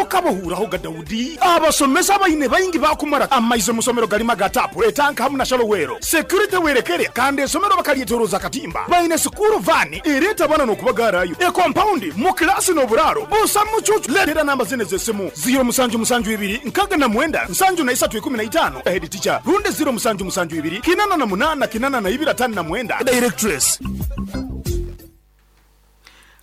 Tokabahuurahoga Daudi? Abasomesa baine baingi baakumara amaizi omu somero galimu aga taapu, etanka hamu na shalowero. Security werekere kandi esomero bakalyetoroza akatimba. Baine sikuuru vaani ereeta abaana n'okubagaarayo, ekompaundi, mu kilaasi n'oburaaro busa mucuucu. Leetera namba zinu ez'esimu, ziiro musanju musanju ibiri nkaaga na mwenda nsanju na isatu ikumi na itaano, Head Teacher, rundi ziiro musanju musanju ibiri kinana na munaana kinana na ibiri ataano na mwenda, Directress.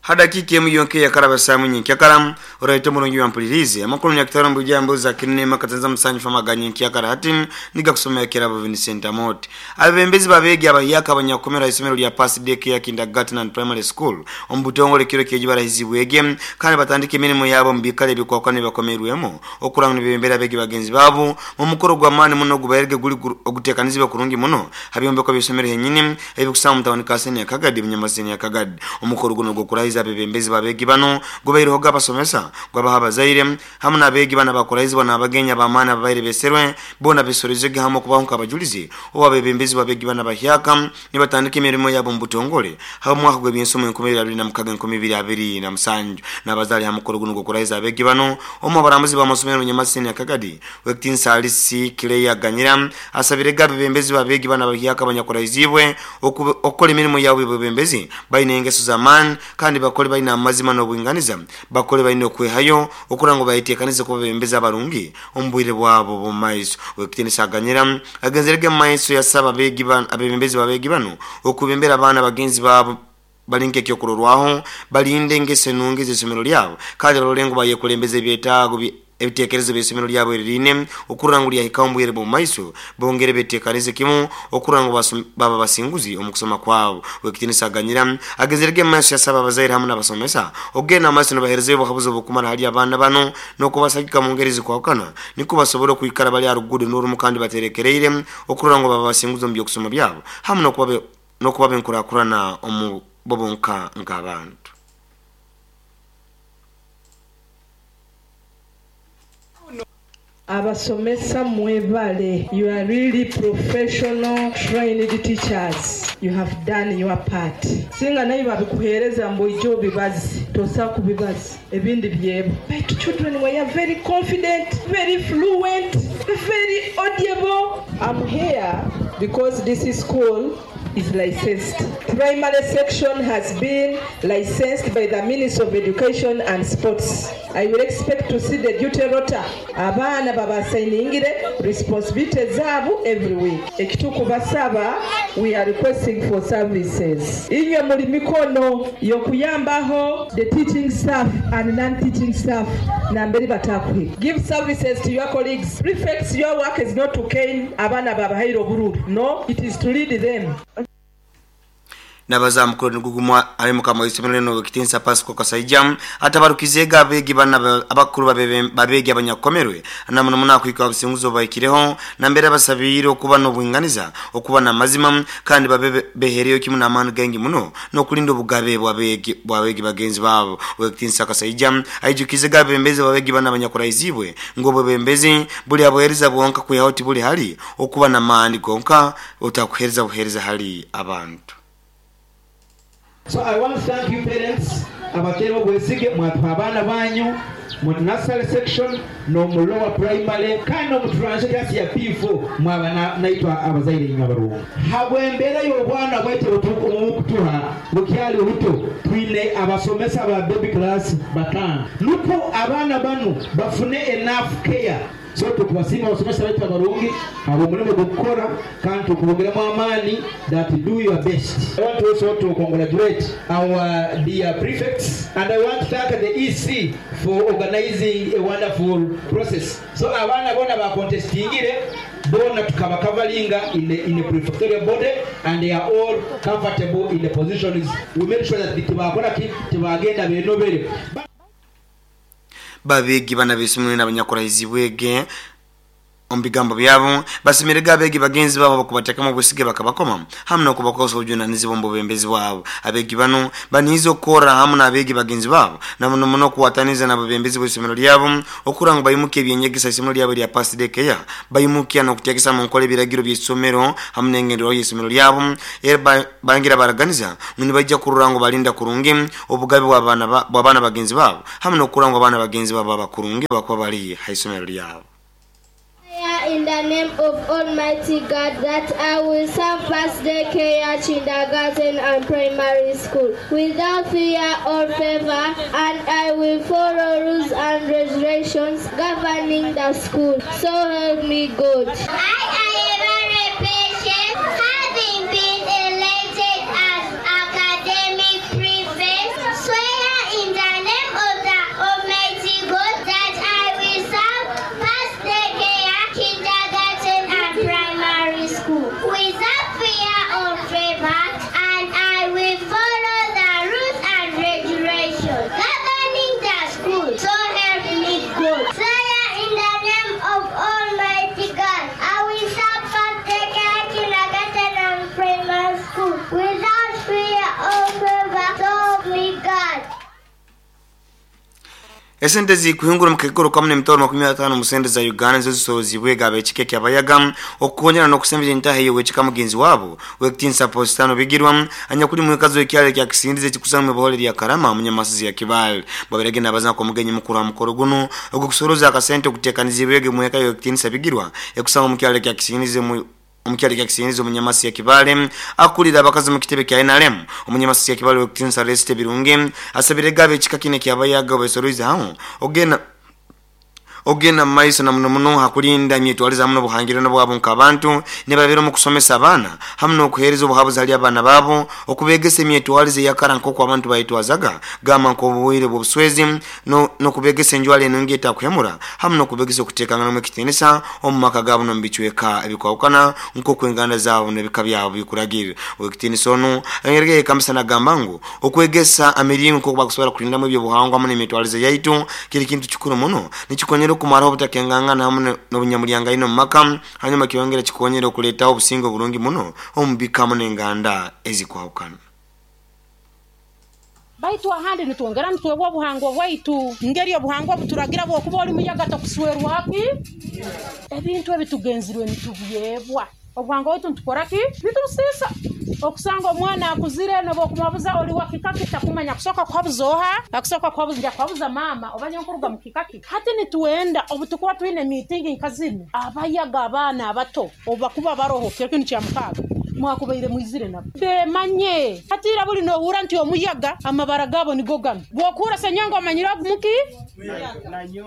Ha dakiika emu yonka eyakaraba saaha emu nyenkyakara, oraite omurungi wampuliriize. Amakuru Nyakitara omu bwijambo za Kinema Katanza Musanju Fama aga nyenkyakara hati nigakusomera Kirabo Vincent Amooti. Abebembezi b'abeegi abahyaka abanyakukomera ha isomero lya Pass Day Care Kindergarten and Primary School omu butongole kiro kyeji barahizibwege kandi batandika emirimo yaabo omu biikaro ebikwakwana ebibakomeirwemu okurora ngu nibebembera abeegi bagenzi baabo mu mukoro gw'amaani muno ogubairege guli oguteekanizibwe kurungi muno ha byombeko by'isomero henyini ebikusangwa omu tawuni ka Senior Kagadi Bunyama Senior Kagadi. Omukoro gunu ogw'okurahiza abebembezi b'abeegi banu gubairehoga abasomesa, gwabaho abazaire, hamu n'abeegi banu abakuraizibwa n'abagenyi ab'amaani ababaire beserwe. Boona besorozege hamu okubaho nk'abajulizi obu abebembezi b'abeegi banu abahyaka nibatandika emirimo yabo omu butongole habw'omwaka gw'eby'ensomo 2026 2027. N'abazaale ha mukoro gunu ogw'okurahiza abeegi banu, omu h'abarambuzi b'amasomero Nyamasi Senior Kagadi, Ow'ekitiinisa Alice Claire Ganyira asabirege abebembezi b'abeegi banu abahyaka abanyakuraiziibwe okukora emirimo yabo y'obwebembezi baine engeso z'amaani kandi bakole baine amazima n'obwinganiza, bakole baine okwehayo okurora ngu bayeteekanize kuba abebembezi abarungi omu bwire bwabo obw'omu maiso. Ow'ekitiinisa Aganyira agenzerege omu maiso yasaba abebembezi b'abeegi banu okwebembera abaana bagenzi baabo bali nk'ekyokurorwaho, balinde engeso enungi ez'isomero lyabo kandi barole ngu bayekulembeza ebyetaago ebitekerezo by'isomero lyabo eririine okurora ngu lyahikaho omu bwire bw'omu maiso, bongere betekanize kimu okurora ngu baba basinguzi omu kusoma kwabo. Ow'ekitiinisa Aganyira agenzerege omu maiso yasaba abazaire hamu n'abasomesa okugenda omu maiso nibaherezayo obuhabuzi obukumara hali abaana banu n'okubasagika omu ngeri ezikwahukana nukwo basobole okwikara bali ha ruguudo n'orumu kandi baterekereire okurora ngu baba basinguzi omu by'okusoma byabo hamu n'okuba b'enkurakurana omu bo bonka nk'abantu. Abasomesa mwebale, you are really professional trained teachers, you have done your part. Singa naiwe babikuhereza mbu oije obibaze, tosobola kubibaza, ebindi byebwa. Baitu children were very confident, very fluent, very audible. Am here because this school is licensed. Primary section has been licensed by the Ministry of Education and Sports. I will expect to see the duty rota. Abaana babasayiningire responsibility zaabu every week. Ekitukubasaba, we are requesting for services. Inywe muli mikono y'okuyambaho the teaching staff and non-teaching staff namberi batakuhika. Give services to your colleagues. Prefects, your work is not to cane abaana babahaire obururu. No, it is to lead them. Nabaza aha mukoro nigwo gumwe ahari mukama w'eishomero rinu Ow'ekitinisa Pascal Kasaija atabarukizeege abeegi banu abakuru b'abeegi abanyakukomerwe na muno muno aha kuhika aha businguzi obu bahikireho nambere abasabiire okuba n'obwinganiza, okuba n'amazima kandi babe beheereyo kimu n'amaani gaingi muno n'okulinda obugabe bw'abeegi bagenzi baabo. Ow'ekitinisa Kasaija aijukiizege abebembezi b'abeegi banu abanyakurahiziibwe ngu obwebembezi buri aha buheereza bwonka kwihaho tiburi hali okuba n'amaani gonka otakuheereza buheereza hali abantu. So I want to thank you parents abateera obwesige mwatuha abaana banyu mu nursery section n'omu lower primary kandi n'omu transition class ya P4 mwaba naitwe abazaire inywe abarungi. Habw'embeera y'obwana bwaitu obuturukutuha bukyali buto, twine abasomesa ba baby class bataano nukwo abaana banu bafune enough care. So tukubasiima abasomesa baitu abarungi habw'omurimo ogw'okukora kandi tukubongeramu amaani that do your best. I want also to congratulate our dear prefects and I want to thank the EC for organizing a wonderful process. So abaana boona abakontesitingire boona tukabakavaringa in the in a prefectorial body and they are all comfortable in the positions. We made sure that tibakora ki, tibagenda benobere. Babeegi bana ab'eisomero n'abanyakurahizibwege. Omu bigambo byabo basimirega abeegi bagenzi babo bakubateekamu obwesige bakabakoma hamu n'okubakosa obujunanizibwa omu bubembezi bwabo. Abeegi bano baniize okukorra hamu n'abeegi bagenzi babo na muno muno okuwataniza n'ababembezi b'isomero lyabo okura ngu baimuka ebyenyegesa isomero lyabo lya Past Day Care baimukya n'okuteekesa mu nkola ebiragiro by'isomero hamu n'engenderwaho y'isomero lyabo. Era bangira baraganiza ngu nibaija kurora ngu balinda kurungi obugabe bw'abaana bagenzi babo hamu n'okurora ngu abaana bagenzi babo baba kurungi bakuba bali ha isomero lyabo. In the name of Almighty God, that I will serve Past Day Care, Kindergarten and Primary School without fear or favor, and I will follow rules and regulations governing the school. So help me God. I am very patient, having been elected as academic prefect, swear in the name of the Almighty God that I will serve Past Day Care, Kindergarten and Primary School without fear or favor, and I will follow the rules and regulations governing the school. So help me God. Swear in the name of Almighty God, I will serve Past Day Care, Kindergarten and Primary School without fear or favor. So help me God. Esente zikuhingura mukekoro kamwe emitoro 50 mu sente za Uganda nizo zisorozibwe gabekike kyabayaga okukonyera n'okusembera entahe yowekika mugenzi wabo wekitinsa Postano Bigirwa anyakuli mwekazo ekyalo kya Kisindize kikusanga mu lya Karama munyamasizi ya Kibale. Baberege nabaza kwa mugenyi mukuru wa mukoro guno ogukusoroza akasente okutekanizibwege mweka yokitinsa Bigirwa ekusanga mu kyalo kya Kisindize mu omukyali kya Kisindize omunyamasi ya Kibale akulira abakazi mu kitebe kya NRM omunyamasi ya Kibale wekitinsa Reste Birungi asabire gabe ekika kine kyabayaga besoroiza aho ogenda maiso na muno muno hakulinda myetwaliza muno buhangiro nabwabo nkabantu nebabera mu kusomesa abaana hamu n'okuhereza obuhabuzi hali abaana babo okubegesa emyetwalize yakara nk'oku abantu bayitwazaga gamba nk'obuwire bw'obuswezi n'okubegesa enjwala enungi etakuhemura hamu n'okubegesa okuteekangana mu ekitiinisa omu maka gaabo n'omu bicweka ebikwawukana nk'oku enganda zaabo n'ebika byabo bikuragirira. Owekitiinisa onu ayongerege kamisa nagamba ngu okwegesa emiringo nk'oku bakusobola kulindamu ebyobuhangwa hamu n'emyetwalize yaitu kiri kintu kikuru muno nikikonyera okumaraho obutakengangana hamu n'obunyamulyango mu maka hanyuma kyongera kikonyera okuleetaho obusinge obulungi muno omu bika hamu n'enganda ezikwawukana. Baitu ahandi nitwongera nitwebwa obuhangwa bwaitu ngeri obuhangwa buturagira bwokuba oli muyaga tokuswerwaki ebintu ebitugenzirwe nitubyebwa obuhangwa bwaitu nitukoraki nitubusiisa. Okusanga omwana akuzire nobokumabuza oli wakikaki takumanya kusoka kuhabuza oha akusoka kuhabuza nja kuhabuza mama oba nyenkuruga mu kikaki. Hati nituenda obutukuba twine meeting nkazinu abayaga abaana abato obakuba baroho kintu kya mukaga mwakubaire mwizire nabo bemanye hatira buli nohura nti omuyaga amabara gabo nigo gano bwokura senyonga omanyira muki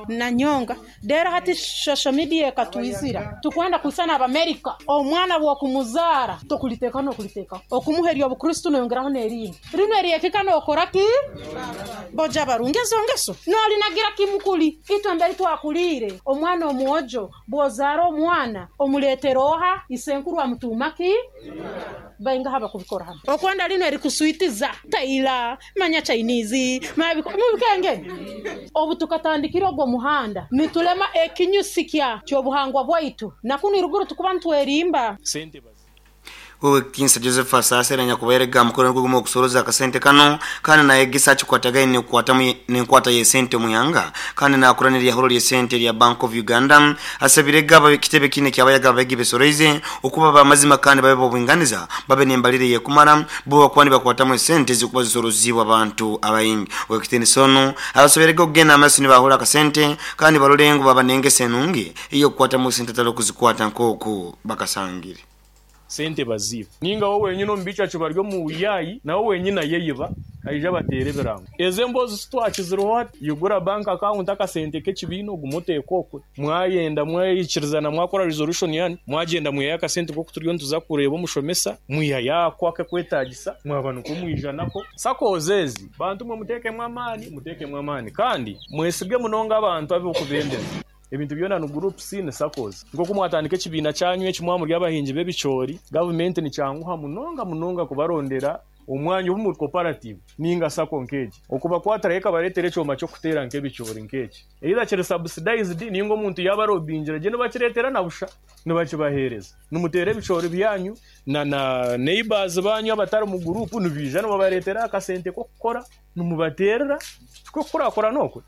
nanyonga dera. Hati social media ekatwizira tukwenda kusana Abamerika omwana bwokumuzara tokuliteka nokuliteka okumuherya obukristo noyongeraho n'erindi rino eryekika nokoraki boja barungezo ngeso nolinagira kimukuli itwe mbere twakulire omwana omwojo bwozara omwana omuletera oha isenkuru amutumaki bainga haba kubikora hano okwenda lino erikuswitiza taila manya Chinese mubikenge obu tukatandikira ogwo muhanda nitulema ekinyusi kya kyobuhangwa bwaitu nakuni ruguru tukuba ntwerimba. Wekitinsa Joseph Asasera nyakuberega mukoro gugumo okusoroza akasente kano kandi nayegesa kikwatagaine okukwatamu n'enkwata y'esente muyanga kandi nakuranira yahoro ly'esente lya Bank of Uganda asabirega abakitebe kine kyabayaga abegi besoroize okuba bamazima kandi babe bobwinganiza babe n'embalire yekumara bo bakwani bakwatamu esente zikuba zisorozibwa abantu abayingi. Wekitinsa ono abasoberega okugenda amasi nibahura akasente kandi barolengo baba nengese enungi iyo kukwatamu sente talo kuzikwata nkoku bakasangire sente baziba ninga wowe wenyine omubica kibaryo mu buyayi nawe wenyine ayeyiba aija batere birango eze mbozi sitwakiziriho yugura bank account akasente k'ekibiina ogumuteeka okwe mwayenda mwayikirizana mwakora resolution yani mwagenda mwihayo akasente koku turiyo nituza kureeba omushomesa mwihayo ako akakwetagisa mwaba nikwo mwijanako sakoze ezi bantu mwe muteekemu amaani kandi mwesige munonga abantu ab'okubendeza ebintu byona ni groups ni SACCOs nk'oku mwatandika ekibiina kyanyu ekimwa muri abahingi b'ebicoori gavumenti nikyanguha munonga munonga kubarondera Omwanya obu muri cooperative ninga sacco nk'egi okubakwatiraho ekabareetera ekyoma ky'okuteera nk'ebicoori nk'eki either kiri subsidized ninga omuntu yaaba arobingire gye nibakireetera na busha nibakibaheereza nimuteera ebicoori byanyu na na neighbors banyu abatari mu guruupu nibaija nibabareetera akasente k'okukora nimubateerera tikwe kukurakurana okwe.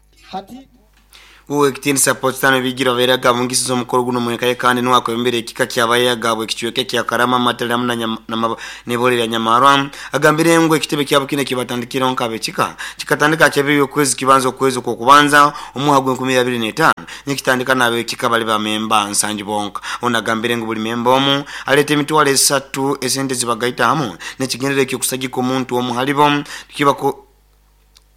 Ow'ekitiinisa Potstano Bigirwa abaire agabungisize omukoro guno omweka ye kandi nuwe akwebembera ekika ky'Abayaga habw'ekicweka ekya Karama, Matale hamu n'Ibole lya Nyamarwa agambire ngu ekitebe kyabo kinu ekibatandikireho nk'ab'ekika kikatandika ha kyabiri y'okwezi kibanza okwezi okw'okubanza omwaka gw'enkumibiri nikitandika n'ab'ekika bali bamemba 70 bonka. Ono agambire ngu buli memba omu aleeta emitwaro 3 esente zibagaita hamu n'ekigendererwa eky'okusagika omuntu omu halibo kibako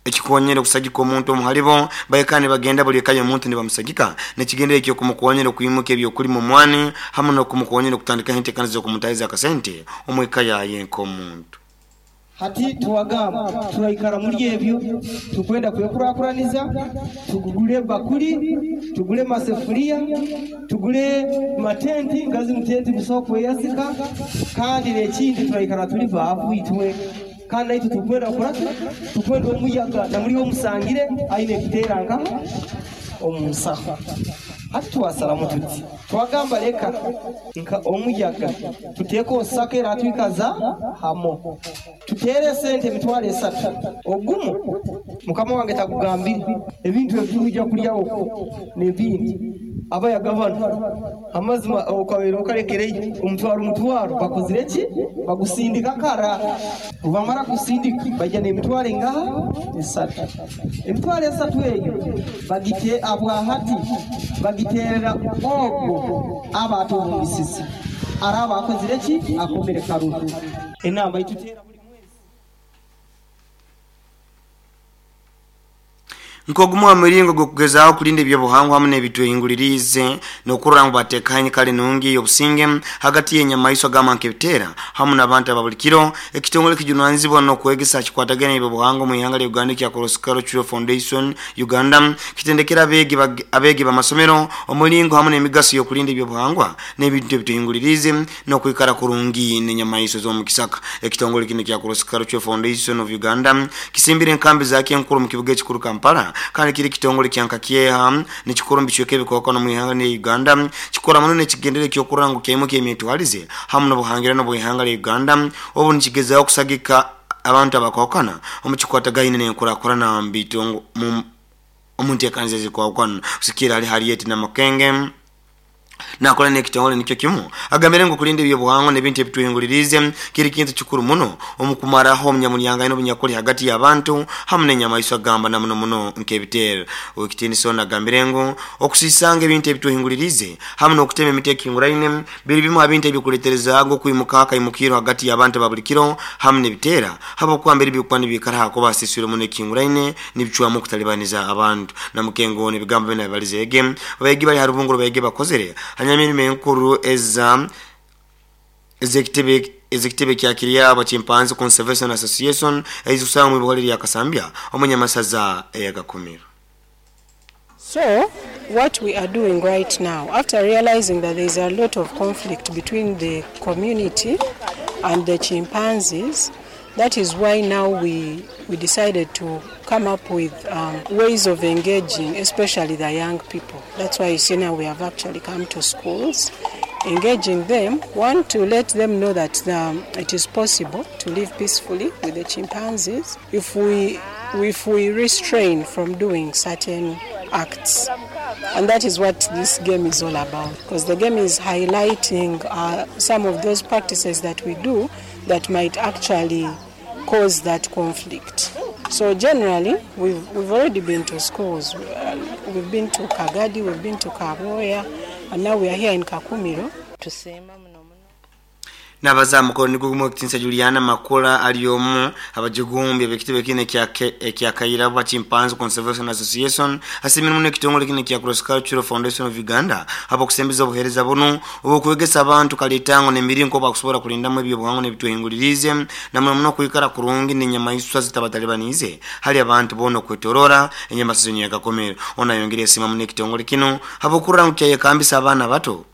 ekikonyera okusagika omuntu omu halibo baikara nibagenda buli eka y'omuntu nibamusagika n'ekigendererwa eky'okumukonyera okwimuka ebyokulima omwani hamu n'okumukonyera okutandikaho enteekaniza z'okumutahiza akasente omu eka yaye nk'omuntu. Hati tuwagamba turaikara muri ebyo tukwenda kwekurakuraniza, tugule bakuli, tugule masefuria, tugule matenti ngazi mutenti busaho kweyazika, kandi n'ekindi turaikara tuli baavu itwe kandi naitwe tukwenda kuraki tukwenda omuyaga namuri omusangire aine kuteera nkaha omu nsaho. Hati twasaramu tuti twagamba leka nka omuyaga tuteeke osaka era twikaza hamo tuteere sente 3,000 ogumu mukama wange takugambire ebintu ebituruja kulyaho n'ebindi abayaga bano amazima okabeera okalekereyo omutwaro bakozire ki bagusindika kara bamara kusindika bajja n'emitwaro engaha 3 emitwaro 3 eyo bagite abwahati bagiterera ogwo aba atubumbisisi araba akozire ki akomere karuru enamba itutera. Nkogumu amiringo gw'okugezaho kulinda ebyobuhangwa hamu n'ebitwehingulirize n'okurora ngu bateekanye kale nungi y'obusinge hagati y'enyamaiswa gamba nk'ebiteera hamu n'abantu aba buli kiro. Ekitongole kijunanizibwa n'okwegesa kikwatagana n'ebyobuhangwa mu ihanga lya Uganda ekya Cross Cultural Foundation Uganda kitendekera abeegi b'amasomero omulingo hamu n'emigaso y'okulinda ebyobuhangwa n'ebintu ebitwehingulirize n'okwikara kurungi n'enyamaiswa z'omu kisaka. Ekitongole kino ekya Cross Cultural Foundation of Uganda kisimbire enkambi zakyo enkuru mu kibuga ekikuru Kampala kandi kiri kitongole kyanka kyeha nekikuru mu bicweka ebikokona mu ihanga lya Uganda kikora muno n'ekigendere ky'okurora ngu kyaimuka emyetwarize hamu n'obuhangirano bw'ihanga lya Uganda obu nikigezaho okusagika abantu abakokana omu kikwatagaine n'enkurakurana mu bitongo omu nteekaniza ezikwahukana. Kusikira ali Harriet Namakenge nakola n'ekitongole nikyo kimu agambire ngu kulinda ebyobuhangwa n'ebintu ebitwehingulirize kiri kintu kikuru muno omu kumaraho omunyamulyangano obunyakuli hagati y'abantu hamu n'enyamaiswa gamba na muno muno nk'ebiteero. Owekitiinisa ono agambire ngu okusisanga ebintu ebitwehingulirize hamu n'okutema emiti ekinguraine biri bimu ha bintu ebikuleeterezaaga okwimuka akaimukiro hagati y'abantu ba buli kiro hamu n'ebiteera habwokuba mbere bikuba nibiikara hakuba hasisirwe muno ekinguraine nibicwamu okutalibaniza abantu. Namukengo ono ebigambo binu abibalizeege abayegi bali ha rubungo rw'abayegi bakozere hanyuma enkuru eza ezekitebe kya Kiryabo Chimpanzee Conservation Association ezikusanga mu ibihole lya Kasambya omunyamasaza eyagakumiro. So what we are doing right now, after realizing that there is a lot of conflict between the community and the chimpanzees, that is why now we decided to come up with ways of engaging, especially the young people. That's why you see now we have actually come to schools, engaging them, one, to let them know that it is possible to live peacefully with the chimpanzees if we restrain from doing certain acts. And that is what this game is all about, because the game is highlighting some of those practices that we do that might actually cause that conflict. So generally, we've already been to schools. We've been to Kagadi, we've been to Kaboya, and now we are here in Kakumiro. Nabaza mukono nigugumu ekitiinisa Juliana Makula ali omu abajugumbi ab'ekitebe kino ekya Kairaba Chimpanzee Conservation Association asimire muno ekitongole kino ekya Cross Cultural Foundation of Uganda habw'okusembeza obuheereza buno obw'okwegesa abantu kaleetango n'emiringo bakusobola kulindamu ebyobuhangwa n'ebitwehingulirize na muno muno kwikara kurungi n'enyamaiswa zitabatalibanize hali abantu boona okwetorora enyamaiswa zonyagakomero. Ono ayongere esiima muno ekitongole kino habw'okurora ngu kyayekambisa abaana bato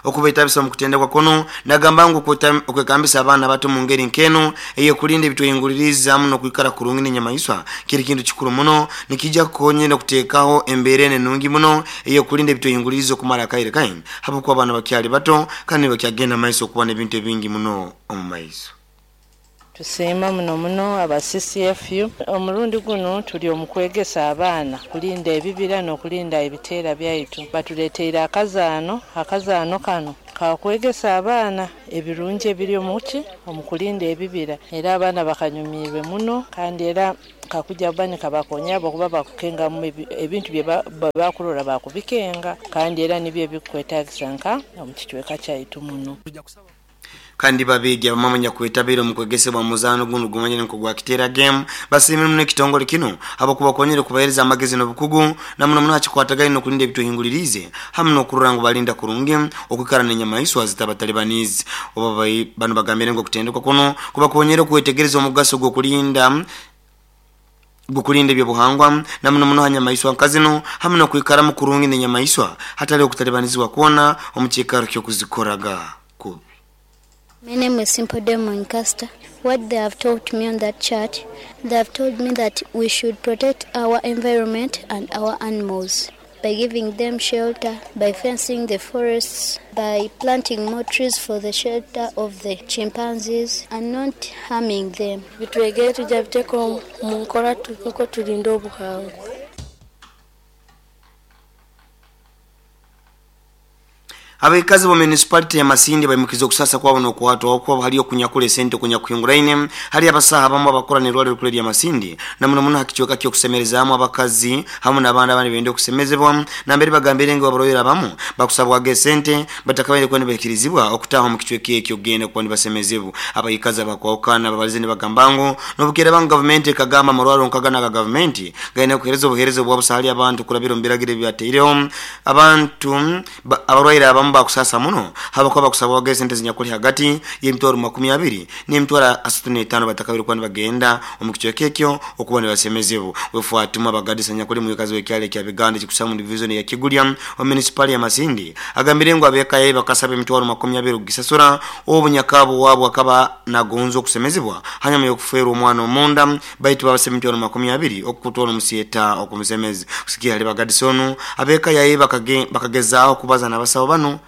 Okubetabisa omu kutendekwa kuno nagamba ngu okwekambisa abaana bato mu ngeri nkeno ey'okulinda ebitwehinguliriza hamu n'okwikara kurungi n'enyamaiswa kiri kintu kikuru muno, nikijja kukonyera okuteekaho embeera enu enungi muno ey'okulinda ebitwehinguliriza okumara akaire kaingi habwokuba abaana bakyali bato kandi nibakyagenda maiso okuba n'ebintu ebingi muno omu maiso. Tusiima muno muno aba CCFU. Omurundi guno tuli omu kwegesa abaana kulinda ebibira n'okulinda ebiteera byaitu. Batuleeteire akazaano, akazaano kano kakwegesa abaana ebirungi ebiri omuki omu kulinda ebibira, era abaana bakanyumiirwe muno kandi era kakuja kuba nikabakonyera habwokuba bakukengamu ebintu bye bakurora bakubikenga kandi era nibyo ebikukwetagisa nka omu kicweka kyaitu muno. Kandi babeegi abamu abanyakwetabire omu kwegesebwa muzaano gunu gumanyire nk'ogwa Kiteera Game basiimire muno ekitongole kinu habw'okubakonyera okubaheereza amagezi n'obukugu na muno muno ha kikwatagaine n'okulinda ebitwehinguliriize hamu n'okurora ngu balinda kurungi okwikara n'enyamaiswa zitabatalibaniize. Obu banu bagambire ngu okutendekwa kunu kubakonyera okwetegereza omugaso gw'okulinda ebyobuhangwa na muno muno ha nyamaiswa nka zinu hamu n'okwikaramu kurungi n'enyamaiswa hatali okutalibanizibwa kwona omu kiikaro ky'okuzikoraga kubi. My name is Simple Demon Caster. What they have taught me on that chart, they have told me that we should protect our environment and our animals by giving them shelter, by fencing the forests, by planting more trees for the shelter of the chimpanzees and not harming them. Bitwegere tujja biteeka omu nkora nukwo tulinde obuhangwa. Abakazi bo municipality ya Masindi baimukiza okusasa kwabo n'okuhatwa okwo hali okunyakula esente okunyakuhinguraine hali abasaha abamu abakora n'erwaliro rikuru erya Masindi na muno muno ha kicweka ky'okusemerezaamu abakazi hamu n'abandi abandi benda okusemezebwa nambere bagambire ngu abarwaire abamu bakusabwaga esente batakabaire kuba nibahikirizibwa okutaaha omu kicweka ekyo kugenda kuba nibasemezebwa. Abaikazi abakwahukana babalize nibagamba ngu n'obukeera ngu gavumenti ekagamba amarwariro nka ganu aga gavumenti gaine kuheereza obuheereza obwabusa hali abantu kurabira omu biragiro ebibataireho abantu abarwaire abamu bakusasa muno habwokuba bakusabwaga esente zinyakuli hagati y'emitwaro 20 n'emitwaro 35 batakabire kuba nibagenda omu kicweka ekyo okuba nibasemezebwa. Wefatuma Bagadisa nyakuli mwikazi w'ekyalo ekya Biganda ekikusamu division ya Kigulya omu municipali ya Masindi agambire ngu ab'eka ye bakasaba emitwaro 20 okugisasura obu nyakabo waabo akaba nagonza okusemezebwa hanyuma y'okufeerwa omwana omunda baitu babasaba emitwaro 20 okutwara omusieta okumusemeza. Kusikia hali Bagadisa onu ab'eka yaye bakagezaaho kubaza n'abasawo bano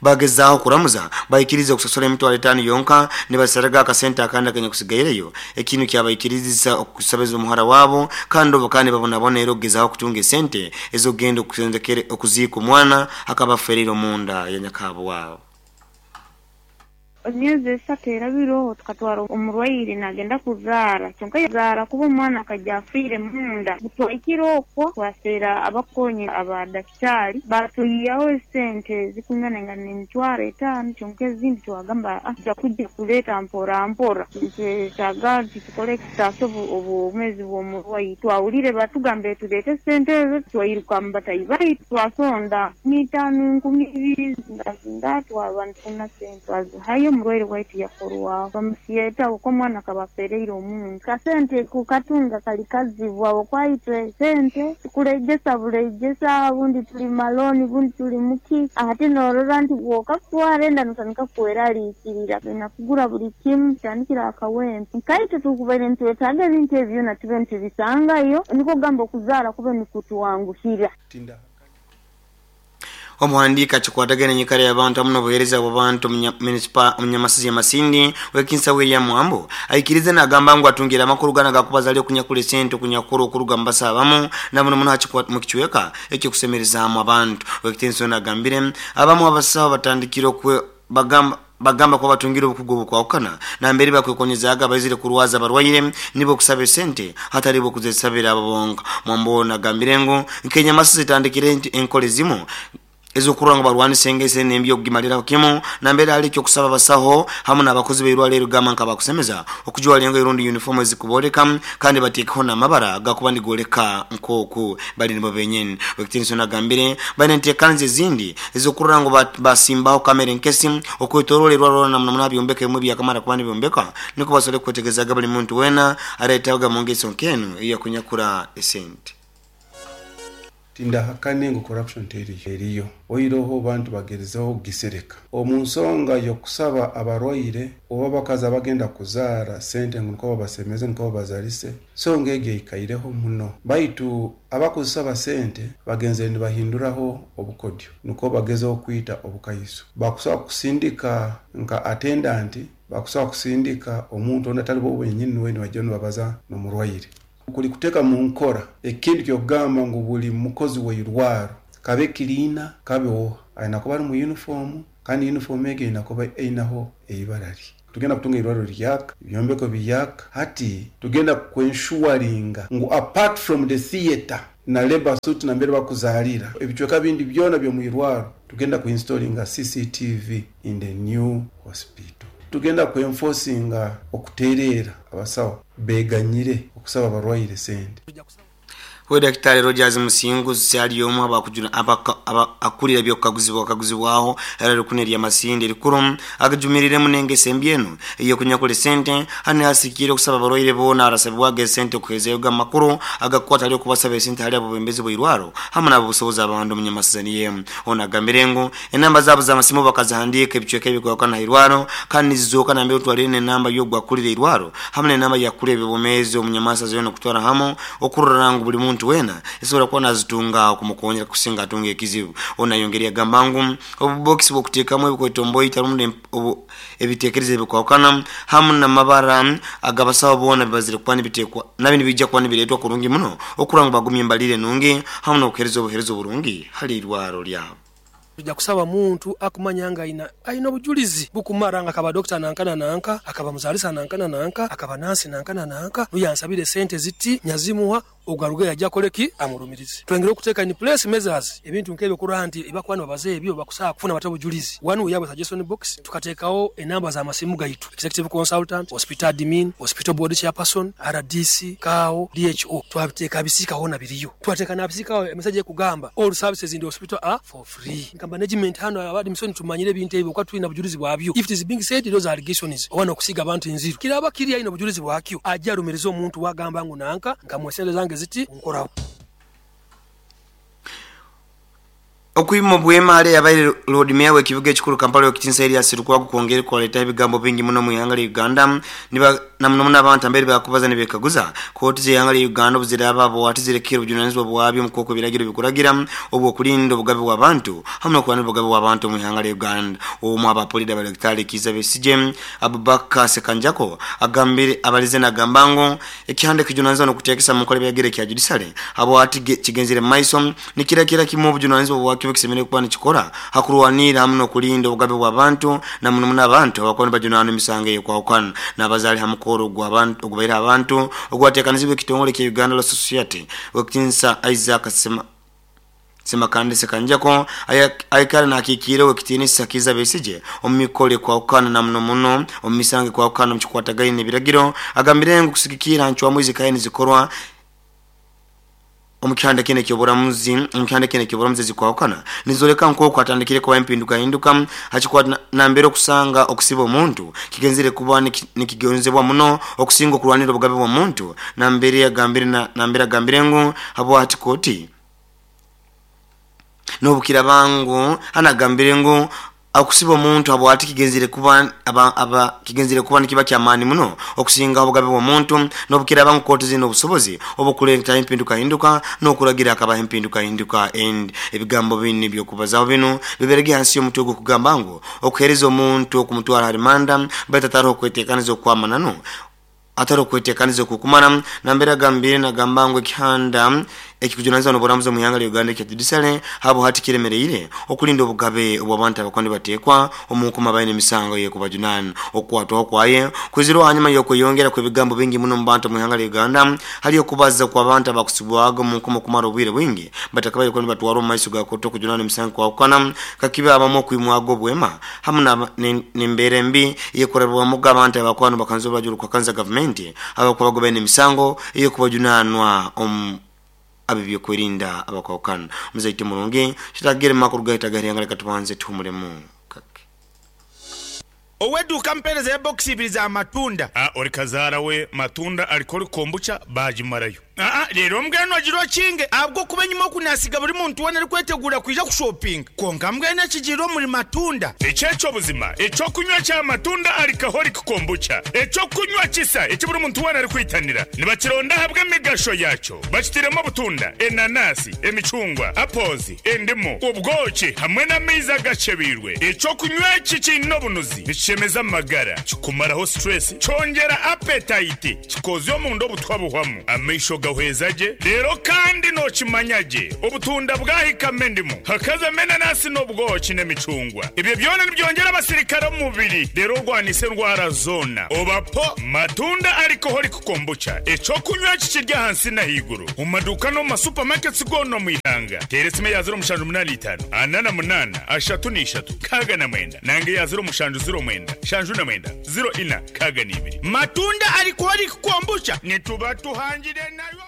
bagezaaho kuramuza baikiriza okusasura emitwaro 5 yonka nibasaraga akasente akandi akanyakusigaireyo ekintu kyabaikiriza okusabeza omuhara wabo kandi obu kandi babonabona era okugezaaho okutunga esente ez'okugenda okuziika omwana akaba afereire omunda ya nyakabo wabo. Emyezi 3 erabireho tukatwara omurwaire nagenda kuzaara kyonka yazaara kuba omwana akajja afiire munda. Twahikire okwo twaseera abakonyi aba dakitari batuyiyaho esente zikungana nga n'emitwaro 5 kyonka ezindi twagamba tujja kujja kuleeta mpora mpora nitwetaaga nti tukole ekitaasa obwomeezi bw'omurwaire. Twawulire batugambire tuleete esente ezo twairuka mu batayi baitu twasonda 5,000 2,000 zingazinga twaba nitufuna sente twazihayo omurwaire waitu yakorwaho bamusiyeta okwo omwana akaba afereire omuntu. Kasente kukatunga kali kazibu habwokuba sente tukuregesa buregesa bundi tuli maloni bundi tuli muki ate norora nti bwokakutwara enda notandika kweraliikirira nakugura buli kimu kitandikira akawempe nkaitwe tukubaire nitwetaaga ebintu ebyo byona tube nitubisangayo niko kugamba okuzaara kube nikutwanguhira. Omuhandiika akikwatagana enyikara y'abantu hamu n'obuheereza bw'abantu omunyamasizi ya Masindi wekinsa William Mwambo aikirize nagamba ngu atungire amakuru gana gakubaza ali okunyakula esente okunyakura okuruga mu basawo abamu na muno muno mu kicweka ekyokusemerezaamu abantu. Wekitinso nagambire abamu abasawo batandikire bagamba kuba batungire obukugu obukwahukana nambere bakwekonyezaaga baizire kurwaza abarwaire nibo okusaba esente hatali bo okuzesabira abo bonka. Mwambo nagambire ngu nk'enyamasizi etandikire enkola ezimu ezokurora ngu barwanisa engeso enembi okugimaliraho kimu nambere hali ekyokusaba abasaho hamu n'abakozi b'eirwariro erigamba nka bakusemeza okujwara engoye rundi uniform ezikubooleka kandi bateekeho n'amabara gakuba nigoleka nk'oku bali nibo benyini. Wekitinso nagambire baine enteekaniza ezindi ezokurora ngu basimbaho kamera enkesi okwetoroora erwariro na muno muno byombeka ebimwe byakamara kuba nibyombeka niko basobole kwetegerezaga buli muntu weena areetaga mu ngeso nk'enu eyakunyakura esente. Tindahakane ngu corruption teriyo, eriyo. Oiroho bantu bagerizeho kugisereka. Omu nsonga y'okusaba abarwaire oba abakazi abagenda kuzaara sente ngu nukwo babasemeze nukwo babazalise, nsonga egyo eikaireho muno. Baitu abakuzisaba sente bagenzere nibahinduraho obukodyo nukwo bagezeho kwita obukaiso. Bakusobola kusindika nka attendant, bakusobola kusindika omuntu ondi atali bo benyini nuwe nibaija nibabaza n'omurwaire. Kuli kuteeka mu nkora ekintu ky'okugamba ngu buli mukozi w'eirwaro kabe cleaner kabe oha aina kuba ari mu uniform kandi uniform egyo eine kuba einaho eibara rye. Tugenda kutunga eirwaro riyaka, ebyombeko biyaka, hati tugenda kwenshuwaringa ngu apart from the theatre na labour suite nambere bakuzaalira, ebicweka bindi byona by'omwirwaro tugenda kuinstolinga CCTV in the new hospital. Tugenda kwenfosinga okuteereera abasawo beganyire okusaba abarwaire sente. We Dakitari Rogers Musinguzi ali omu akulira eby'okukaguzibwa kaguzibwaho era lukuni erya Masindi erikuru agijumiriremu n'engeso embi enu ey'okunyakula esente hanu yasikiire okusaba abarwaire boona arasabibwaga esente okuheezayoga amakuru agakukwata hali okubasaba esente hali abebembezi bw'eirwaro hamu n'abobusobozi abandi omunyamasizani ye. Ono agambire ngu enamba zaabo z'amasimu bakazihandiika ebicweka ebikwahukana ha irwaro kandi nizizooka nambere otwalire n'enamba y'ogu akulira eirwaro hamu n'enamba y'akulira eby'obwomeezi omunyamasazani yoona okutwara hamu okurora ngu buli muntu weena esobora kuba nazitunga okumukonyera kusinga atunga ekizibu. Onu ayongera yagamba ngu obubokisi bw'okuteekamu ebikwetomboita rundi ebitekerezo ebikwahukana hamu n'amabara ag'abasaho boona bibazire kuba nibitekwa nabyo nibiija kuba nibireetwa kurungi muno okurora ngu bagumya embalirira enungi hamu n'okuheereza obuheereza oburungi hali irwaro lyabo. Tuja kusaba muntu akumanya nga aina aina obujulizi bukumara nga akaba dokita nanka na nanka, akaba muzalisa nanka na nanka, akaba nansi nanka na nanka, nuyo ansabire esente ziti nyazimuha, ogwo arugeyo aje akole ki? Amurumirize. Twengere okuteka in place measures ebintu nk'ebyo okurora nti ebibakuba nibabaza ebyo bakusobola kufuna bata obujulizi. One we have a suggestion box, tukatekagho enamba za masimu gaitu, executive consultant, hospital admin, hospital board chairperson, rdc, kao, DHO, twabiteka aha bisiika hoona biriyo. Twateeka n'aha bisiika agho emeseji ekugamba all services in the hospital are for free. Nka management hano aba admission tumanyire ebintu ebyo kuba twine obujulizi bwabyo. If it is being said those allegations oba n'okusiiga abantu enziru kiraba kiri aine obujulizi bwakyo aje arumirize omuntu wagamba ngu nanka nkamuwa esente zange ziti nkoraho. Okwima obwema hali eyabaire Loodi Meeya w'ekibuga ekikuru Kampala Owekitinisa Erias Lukwago kwongeire kwaleetaho ebigambo bingi muno omu ihanga lya Uganda na muno muno abantu ambere bakubaza nibekaguza kooti z'eihanga lya Uganda obuziraaba bwati zirekere obujunanizibwa bwabyo omu kwokwo ebiragiro bikuragira obw'okulinda obugabe bw'abantu hamu n'okurwanira obugabe bw'abantu omu ihanga lya Uganda. Omu aba Puliida ba Daktari Kiiza Besigye, Abubaker Sekanjako agambire abalize nagamba ngu ekihanda ekijunanizibwa n'okuteekesa munkora ebiragiro ekya Judiciary habwati kigenzire mumaiso Nikirakira kimwe obujunanizibwa bwakyo obukisemeriire kuba nikikora ha kurwanirra hamu n'okulinda obugabe bw'abantu na muno muno abantu abakuba nibajunaanwa emisango ey'okwahukana n'abazaale ha mukoro ogubaire abantu ogwateekanizibwe ekitongole ekya Uganda Law Society Owekitinisa Isaac Ssemakande Ssekanjako aikara nakikiira Owekitinisa Kiiza Besigye omu mikoro ekwahukana na muno muno omu misango ekwahukana omu kikwatagaine n'ebiragiro agambire ngu kusigikirra ha ncwamu ezikaire nizikorwa Omu kihanda kinu eky'oburamuzi omu kihanda kinu eky'oburamuzi ezikwahukana nizoleka nk'oku hatandikire kubaho empindukahinduka ha kikwata nambere okusanga okusiba omuntu kigenzere kuba nikigonzebwa muno okusinga okurwanirra obugabe bw'omuntu nambere agambire nambere agambire ngu habwaki kooti N'obukiraaba ngu hanu agambire ngu okusiba omuntu habwaki kigenzire kuba aba kigenzire kuba nikiba ky'amaani muno okusingaho obugabe bw'omuntu, n'obukiraaba ngu kooti ziine obusobozi obw'okuleetaho empindukahinduka n'okuragira hakabaho empindukahinduka endi. Ebigambo binu eby'okubazaho binu biberege hansi y'omutwe ogw'okugamba ngu Okuheereza omuntu okumutwara ha rimanda baitu ataroho okweteekaniza okw'amananu Atari okwetekaniza okukumara, nambere agambire nagamba ngu ekihanda ekikujunanizibwa n'oburamuzi omu ihanga lya Uganda ekya Judiciary habwo hati kiremereire okulinda obugabe obw'abantu abakuba nibatekwa omu nkomo abaine emisango ey'ekubajunana. Okukwatwaho kwaye kwizirweho hanyuma y'okweyongera kw'ebigambo bingi muno omu bantu omu ihanga lya Uganda hali okubaza kw'abantu abakusibwaga omu nkomo kumara obwire bwingi batakabaire kuba nibatwarwa omu maiso ga kooti okujunanwa emisango ekwahukana kakibe abamu okwimwaga obwema hamu n'embeera embi ey'ekurabibwamuga abantu abakuba nibakanza orubaju orukuhakanza gavumenti abakuba bagobaine emisango ey'okubajunaanwa omu ab'ebyokwerinda abakwahukana. Omuzaite murungi, kitagere mu makuru gaitu ag'eihanga leka tubanze tuhumulemu kake. Ow'eduuka ampeereza ya bokisi ibiri za matunda. Ori kazaara we matunda arikora kombucha baagimarayo. Aa reero mbwenu ogira okinge ahabw'okuba enyima oku naasiga buri muntu weena arikweteguura kwija kushopinga. Kwonka mbwenu ekigiire omuri Matunda. Eki ekyo buzima eky'okunywa kya Matunda Alcoholic Kombucha, eky'okunywa kisa eki buri muntu weena arikwitanira. Nibakironda ahabw'emigasho yaakyo. Bakitairemu obutunda, enanasi, emicungwa, apples, endimu, obwoki hamwe n'amaizi agakyebeirwe. Eky'okunywa eki kiine obunuzi, nikishemeza amagara, kikumaraho stress, kyongyera appetite, kikoozya omunda obutwa buhwamu, amaisho gahweza gye, reero kandi nookimanya gye obutunda bwahikamu endimu, hakazamu enanasi n'obwoki n'emicungwa. Ebyo byona nibyongyera abasirikare omu mubiri reero orwanise endwara zoona. Oba po Matunda Alcoholic Kombucha, eky'okunywa eki kiri ahansi n'ahaiguru omu maduuka n'omu ma supermarkets goona omu ihanga. Teera esimu eya 0785 48 33 69 nanga eya 0709 79 04 62. Matunda Alcoholic Kombucha nituba tuhangire nayo.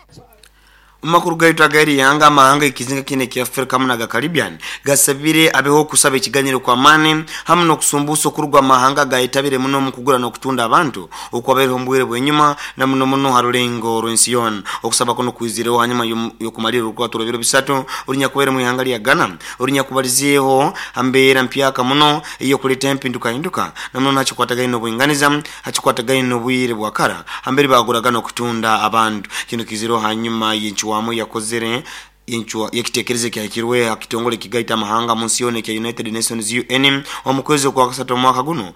Omu makuru gaitu ag'eri ihanga, amahanga g'ekizinga kinu ekya Afrika hamu n'aga Caribbean gasabire abeho okusaba ekiganyiro kw'amaani hamu n'okusumbuusa okuruga omu mahanga agayetabire muno omu kugura n'okutunda abantu okwabaireho omu bwire bw'enyuma na muno muno ha rulengo rw'ensi yoona. Okusaba kunu kwizireho hanyuma y'okumalirra orukwata orw'ebiro bisatu orunyakubaire omu ihanga lya Ghana orunyakubalizeeho ha mbeera mpyaka muno ey'okuleeta empindukahinduka na muno ha kikwatagaine n'obwinganiza ha kikwatagaine n'obwire bwa kara hambere baaguraga n'okutunda abantu. Kinu kiizireho hanyuma y'encwamu eyakozere y'ekitekerezo ekyahikirwe ha kitongole ekigaita amahanga mu nsi yoona ekya United Nations, UN, omu kwezi okwakasatu omwaka gunu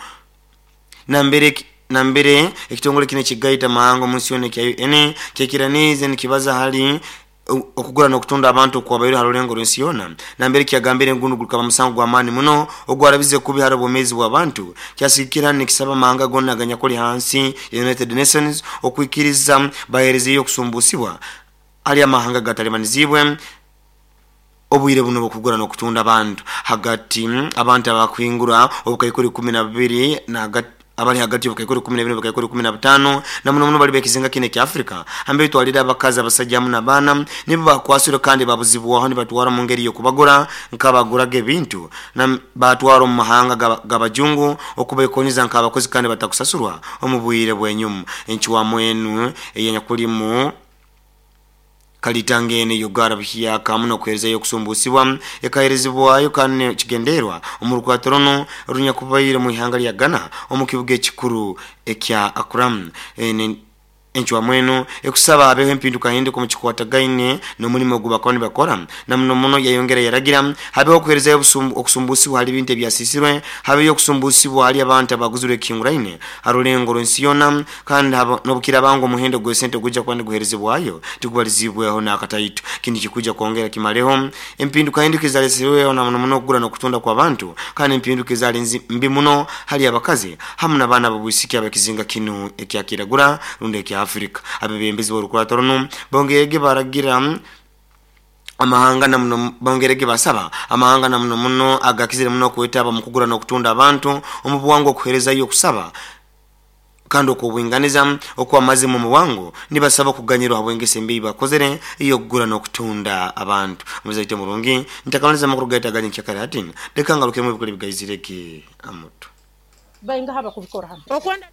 nambere nambere ekitongole kinu ekigaita amahanga omu nsi yoona ekya UN kyekiraniize nikibaza hali Okugura n'okutunda abantu okwabaire ha rulengo rw'ensi yoona, nambere kyagambire ngu gunu gukaba musango gw'amaani muno ogwarabize kubi hali obwomeezi bw'abantu, kyasigikira nikisaba amahanga goona aganyakuli hansi ya United Nations okwikiriza baheerezeyo okusumbuusibwa hali amahanga agatalibaniziibwe obwire bunu obw'okugura n'okutunda abantu hagati abantu abakuhingura obukaikuru 12 na abali hagati y'obukaikuru 12 n'obukaikuru 15 na muno muno bali b'ekizinga kinu ekya Afrika hambere twalire abakazi, abasaija hamu n'abaana nibo bakwasirwe kandi babuzibwaho nibatwarwa mu ngeri y'okubagura nk'abaguraga ebintu na batwarwa omu mahanga g'abajungu okubekonyeza nk'abakozi kandi batakusasurwa omu bwire bw'enyuma. Encwamu enu eyenyakulimu Kalitanga enu ey'okugarra buhyaka hamu n'okuheerezayo okusumbuusibwa ekaheerezibwayo kandi n'ekigendererwa omu rukwata runu orunyakubaire omu ihanga lya Ghana omu kibuga ekikuru ekya Accra. Enu encwamu enu ekusaba habeho empindukahinduka omu kikwatagaine n'omulimo ogu bakaba nibakora na muno muno yayongera yaragira habeho okuheerezayo okusumbuusibwa hali ebintu ebyasiisirwe, habeyo okusumbuusibwa hali abantu abaguzirwe ekihinguraine ha rulengo rw'ensi yoona Kandi n'obukiraaba ngu omuhendo gw'esente ogwija kuba niguheerezebwayo tigubaliziibweho n'akataito, kinu nikikwija kwongera kimaleho empindukahinduka ezaleserweho na muno muno okugura n'okutunda kw'abantu kandi empinduka ezaali mbi muno hali abakazi hamu n'abaana ab'obwisiki ab'ekizinga kinu ekya Kiragura rundi ekya Afrika. Abebembezi b'orukurato runu bongeirege baragira amahanga na muno bongeirege basaba amahanga na muno muno agakizire muno okwetaba omu kugura n'okutunda abantu omu bwangu okuheerezayo okusaba kandi okw'obwinganiza okw'amazima omu bwangu, nibasaba okuganyirwa habw'engeso embi ei bakozere ey'okugura n'okutunda abantu. Omuzaire omurungi, ntakamaliza amakuru gaitu aga nyenkyakara hati, leka ngarukiremu ebikuru ebigaizire ge amutu. Baingaha abakubikora hanu? Okwenda.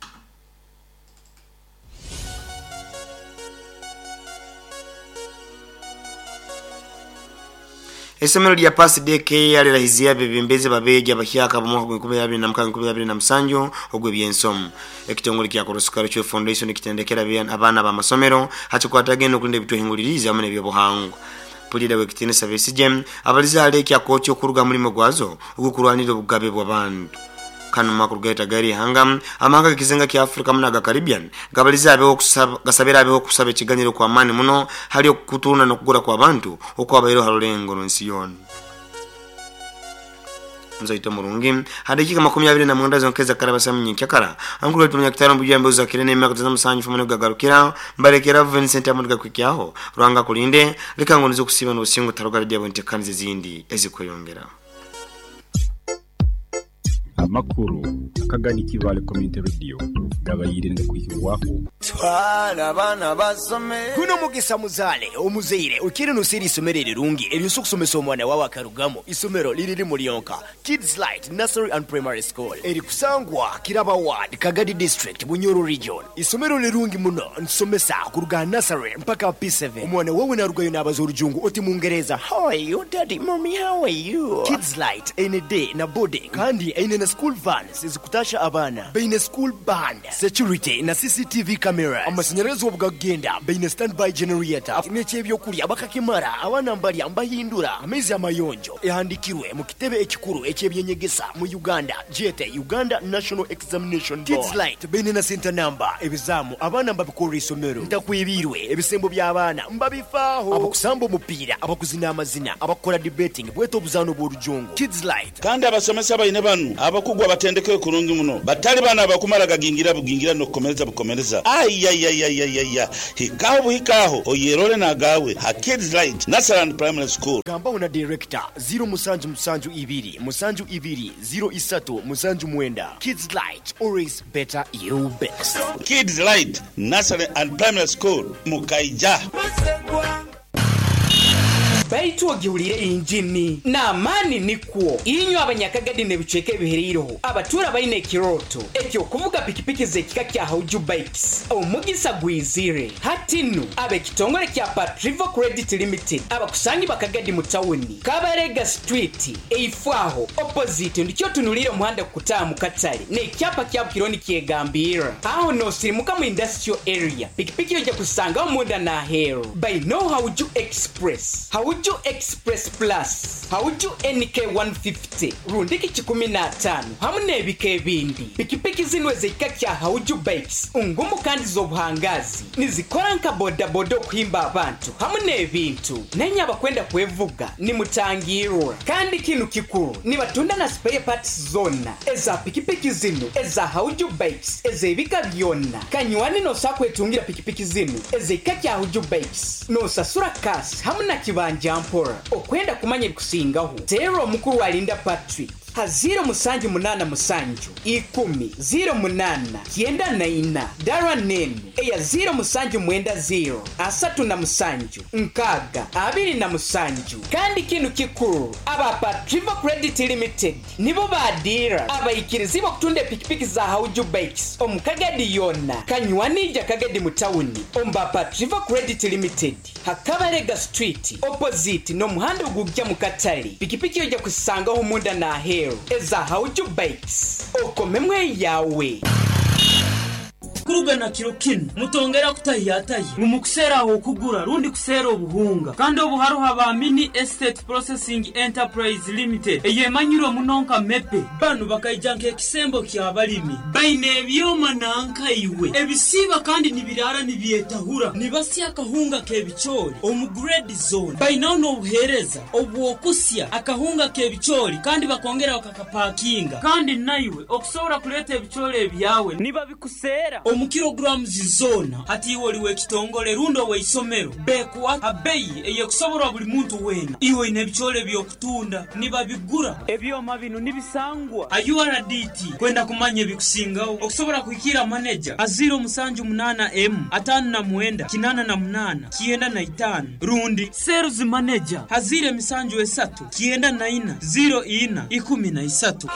Eisomero lya Pass Day Care lirahiziire abebembezi b'abeegi abahyaka ab'omwaka gwa 2026-2027 ogw'ebyensomo. Ekitongole kya Korosuka Rucwe Foundation kitendekere abaana b'amasomero ha kikwatagaine n'okulinda ebitwehinguliriize hamu n'eby'obuhangwa. Puliida w'ekitinisa Besigye abalize hali ekya kooti okuruga ha mulimo gwazo ogw'okurwanirra obugabe bw'abantu. Kanu makuru gaitu ag'eri ihanga, amahanga g'ekizinga kya Afrika hamu n'aga Caribbean gabalize habeho okusaba gasabire habeho okusaba ekiganyiro okw'amaani muno hali okutunda n'okugura kw'abantu okwabaireho ha rulengo rw'ensi yoona. Muzaito murungi, ha dakiika 29 zonka ezakaraba samu nyenkyakara, amakuru gaitu munyakitara omu bujwa embeho zakire n'emyaka tata musanju fumu nigugagarukira, mbalekera Vincent Amondi gakuhikyaho. Ruhanga akulinde, leka ngu nize okusiiba n'obusinge otaruga redi habw'entekaniza ezindi ezikweyongera. Amakuru akagani Kibale Community Radio gabayire ngakwihirwaho. Twala abaana basome. Guno mugisa muzaale omuzaire okire nosera isomero erirungi eryosa okusomesa omwana wawe akarugamu. Isomero liri limu lyonka, Kids Light Nursery and Primary School, erikusangwa Kiraba Ward, Kagadi District, Bunyoro Region. Isomero lirungi muno, ntusomesa kuruga aha nursery mpaka P7. Omwana wawe narugayo nabaza orujungu oti Mungereza, How are you daddy, mommy how are you? Kids Light eine day na boarding kandi eine na school vans ezikutasha abaana. Baine school band, security na CCTV cameras. Amasanyarazi obu gakugenda baine standby generator n'eky'ebyokurya bakakimara, abaana mbarya mbahindura. Amaizi amayonjo ehandikirwe mu kitebe ekikuru eky'ebyenyegesa mu Uganda gyete Uganda National Examination Board. Kids Light baine na center number, ebizaamu abaana mbabikorera isomero. Ntakwebiirwe ebisembo by'abaana mbabifaaho. Abakusamba omupiira, abakuzina amazina, abakukora debating bwete obuzaano bw'orujungu. Kids Light. Kandi abasomesa baine banu abakugu abatendekeirwe kurungi muno, batali banu abakumara gagingira bugingira n'okukomereza bukomereza. Aiaiaiaiaia! Hikaho buhika aho oyerole n'agaawe ha Kids Light Nursery and Primary School. Gambaho na Director, ziro musanju musanju ibiri, musanju ibiri, ziro isatu, musanju mwenda. Kids Light, always better you best. Kids Light Nursery and Primary School, mukaija. Baitu ogihulire injini n'amaani nikwo. Inywe Abanyakagadi n'ebicweka ebihereireho abatuura baine ekirooto eky'okuvuga pikipiki z'ekika kya Hauju Bikes, omugisa gwizire. Hati nu, ab'ekitongore kya Patrivo Credit Limited abakusangibwa Kagadi mu tawuni, Kabarega Street, eifo aho, opposite, ndikyo otunuliire omuhanda kukutaaha mu katale n'ekyapa kyabo kiriho nikyegambirra. Aho noosirimuka mu Industrial Area, pikipiki oija kuzisangaho munda n'aheeru. Baineo Hauju Express, Hauju Express Plus, Hauju NK 150 rundiki kikumi n'ataano hamu n'ebika ebindi. Pikipiki zinu ez'ekika kya Hauju Bikes ngumu kandi z'obuhangaazi. Nizikora nka bodaboda okuhimba abantu hamu n'ebintu. Nainye abakwenda kwevuga nimutangirwa. Kandi kinu kikuru, nibatunda na spare parts zoona eza pikipiki zinu eza Hauju Bikes ez'ebika byona. Kanywani noosobola kwetungira pikipiki zinu ez'ekika kya Hauju Bikes noosasura cash hamu na kibanja mpora. Okwenda kumanya ebikusingaho, teerra omukuru Alinda Patrick ha ziiro musanju munaana musanju, ikumi, ziiro munaana, kyenda na ina, dara n'enu eya ziiro musanju mwenda ziiro, asatu na musanju, nkaaga, abiri na musanju. Kandi kinu kikuru, aba Patrivo Credit Limited nibo baadiira abaikirizibwa okutunda epikipiki za Hauju Bikes omu Kagadi yoona. Kanywani ija Kagadi mu tawuni omu ba Patrivo Credit Limited ha Kabarega Street opposite n'omuhanda ogujja mu katale. Pikipiki oija kuzisangaho munda n'aheeru eza Hauju Bikes. Okomemu eyaawe. Kuruga na kiro kinu, mutongera kutahiyatahya ngu mukuseera ah'okugura rundi kuseera obuhunga. Kandi obu haroho aba Mini Estate Processing Enterprise Limited eyemanyirwe muno nka MEPE. Banu bakaija nk'ekisembo ky'abalimi. Baine ebyoma nanka iwe ebisiiba kandi nibiraara nibyetahura. Nibasya akahunga k'ebicoori omu grade zoona. Bainaho n'obuheereza obw'okusya akahunga k'ebicoori kandi bakongera bakakapakinga. Kandi naiwe okusobora kuleeta ebicoori ebyawe nibabikuseera omu kilograms zoona. Hati iwe oli w'ekitongole rundi ow'eisomero, bekuha ha beyi ey'ekusoborwa buli muntu weena. Iwe oine ebicoori eby'okutunda, nibabigura. Ebyoma binu nibisangwa ha URDT. Kwenda kumanya ebikusingaho, okusobora kuhikiira maneja ha ziiro musanju munaana emu, ataano na mwenda, kinaana na munaana, kyenda na itaano rundi sales manager ha ziiro emisanju esatu, kyenda na ina, ziiro ina, ikumi na isatu.